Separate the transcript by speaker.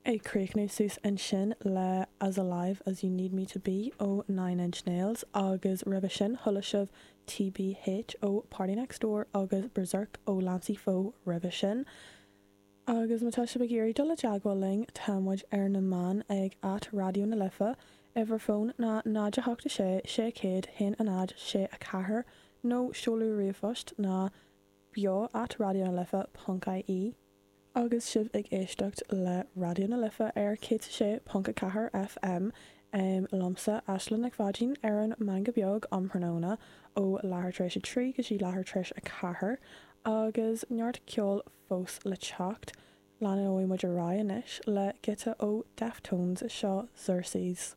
Speaker 1: Ag críochnú suas ansin le As Alive As You Need Me To Be ó Nine Inch Nails agus roimhe sin chuala sibh TBH ó PartyNextDoor agus Berserk ó Lancey Foe roimhe sin. Agus má tá sibh ag iarraidh dul i dteagmháil linn tá muid ar na meáin ag at Raidió na Life, uimhir fóin ná 0 8 6 600 1 0 6 4 nó seoladh ríomhphost ná beo at raidionalife ponc ie. Agus sibh ag éisteacht le Raidió na Life ar 106.4 FM, liomsa, Aisling Nic Pháidín, ar an Meangadh Beag um thráthnóna ó leathuair tar éis a 3 go dtí leathuair tar éis a 4, agus neart ceoil fós le teacht. Leanóidh muid ar aghaidh anois le giota ó Deftones, seo Xerxes.